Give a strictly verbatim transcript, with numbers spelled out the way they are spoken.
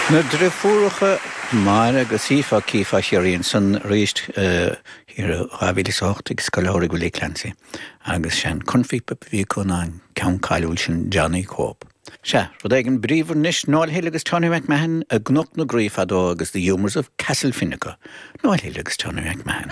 Na deirfiúracha Máire agus Aoife Cífa Chiarraí san arís thiar dhá mhíle is a hocht ag Scoil Shamhraidh Willie Clancy agus sean cornphíopa bhí acu ná an ceann cáiliúil sin Johnny Cope. Sea, rud éigin bríomhar anois Noel Hill agus Tony McMahon i gCnoc na Graí fadó agus The Humours of Castlefinn acu. Noel Hill agus Tony McMahon.